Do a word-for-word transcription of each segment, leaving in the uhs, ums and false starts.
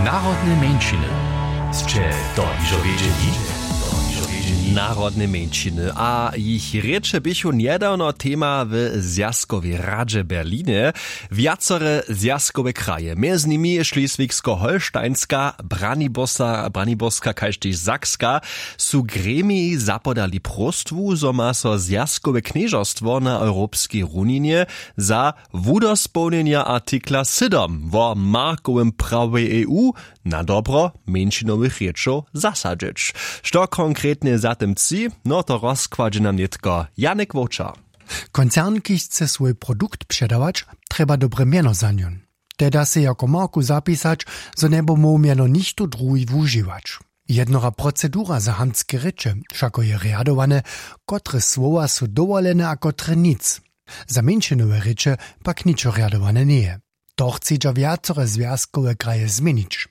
Narodne mjeńšiny. Sće to hižo wědźeli? Narodne mjeńšiny a jich rěče běchu njedawno tema w zwjazkowej radźe w Berlinje. Wjacore zwjazkowe kraje, mjez nimi šleswigsko-holštajnska, braniborska kaž tež sakska, su gremiji zapodali próstwu, zo ma so zwjazkowe knježerstwo na europskej runinje za wudospołnjenja artikla sydom wo markowym prawje eu na dobro mjeńšinowych rěčow zasadźeć. Što konkretnje za tym tři, no to rozkładźe nam nětko Janek Wowčar. Koncern, kiž chce swój produkt předawać, trjeba dobre mjeno za njon. Te da sej jako marku zapisać, zo njeby móhł mjeno nichtó druhi wužiwać. Jednora procedura za hamtske rěče wšako je rjadowane, kotre słowa su dowolene a kotre nic. Za mjeńšinowe rěče pak ničo rjadowane njeje. To chcedźa wjacore zwjazkowe kraje změnić.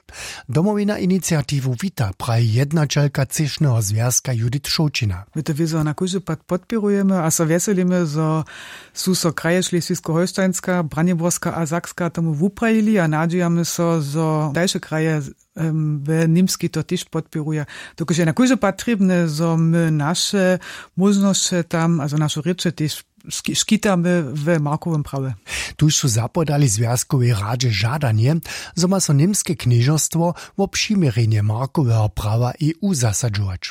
Domowina iniciatiwu wita, praji jednaćelka třěšneho zwjazka Judith Šołćina. My to wězo na kóždy pad podpěrujemy a so wjeselimy, zo su so kraje šleswigsko-holštajnska, braniborska a sakska tomu wuprajili a nadźijamy so, zo dalše kraje we němskej to tež podpěruja. Dokelž je na kóždy pad trěbne, zo my naše móžnosće tam a zo naše rěče tež škitamy w markowym prawje. Tuž su zapodali zwjazkowej radźe žadanje, zo ma so němske knježerstwo wo přiměrjenje markoweho prawa eu zasadźować.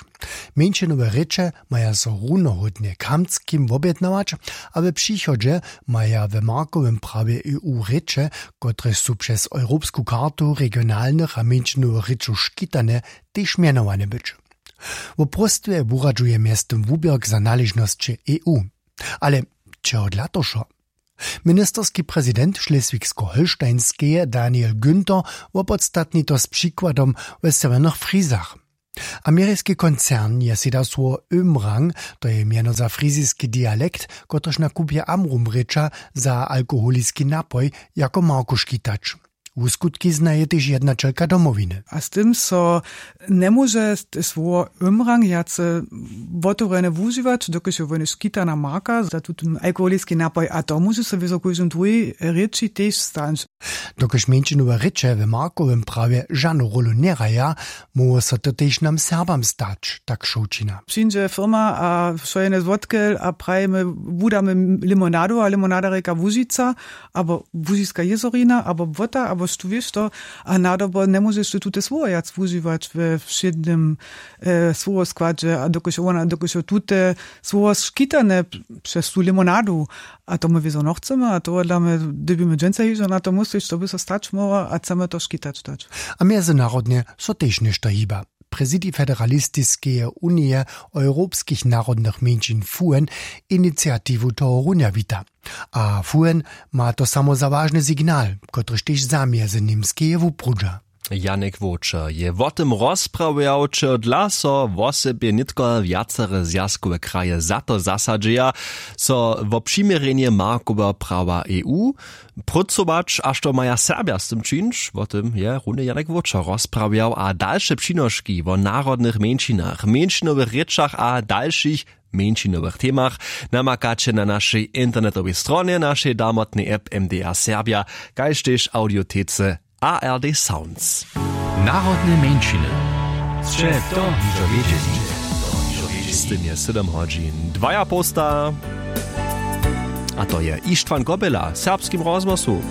Mjeńšinowe rěče maja so runohódnje k hamtskim wobjednawać, a we přichodźe maja we markowym prawje eu rěče, kotrež su přez europsku kartu regionalnych a mjeńšinowych rěčow škitane, tež mjenowane być. Wo próstwje wuradźuje mjeztym wuběrk za naležnosće eu. Ale čehodla to wšo? Ministerski prezident šleswigsko-holštajnskeje Daniel Günther wopodstatni to z přikładom we sewjernych frizach. Ameriski koncern je sej dał słowo ömrang, to je mjeno za friziski dialekt, kotryž na kupje amrum rěča za alkoholiski napoj, jako marku škitać. Wuskutki znaje tež jednaćelka domowiny. A z tym so njemóže słowo ömrang wjace wotewrjene wužiwać, dokelž je wone škitana marka za tutón alkoholiski napoj a to móže so wězo kóždym druhej rěči tež stać. Dokelž mjeńšinowe rěče w markowym prawje žanu rólu njehraja, móhło so to tež nam serbam stać, tak šołćina. Přińdźe firma a wšojene złotkel a prajimy, wudamy limonadu a limonada rěka łužica, abo łužiska jězorina abo błota abo štó wěš to, a nadobo njemóžeš ty tute słowo wjac wužiwać we wšědnym słowoskładźe a dokelž wona dokelž jo tute słowo škitane přez tu limonadu. A to my wězo nochcemy a tohodla my dyrbimy dźensa hižo na to myslić što by so stać móhło a chcemy to škitać dać. A mjezynarodnje so tež něšto hiba. Prezidij federalistiskeje unije europskich narodnych mjeńšin fuen iniciatiwu tohorunja wita. A fuen ma to samo za wažny signal, kotryž tež za mjezyněmskeje wuprudźa. Janek wowčer je wo tym rozprawjał, čehodla so wosebje nětko wjacore zwjazkowe kraje za to zasadźeja, so wo přiměrjenje markoweho prawa eu prócować a što maja serbja z tym čińć, wo tym je runje Janek wowčer rozprawjał a dalše přinoški wo narodnych mjeńšinach, mjeńšinowych rěčach a dalšich mjeńšinowych temach namakaće na našej internetowej stronje našej damotnej app mdr serbja, kaž tež audiotece. A r d sounds. Narodne mjeńšiny. Sće to hižo wědźeli? Z tym je sydom hodźin dwaja połsta. A to je ištwan kobela w serbskim rozhłosu.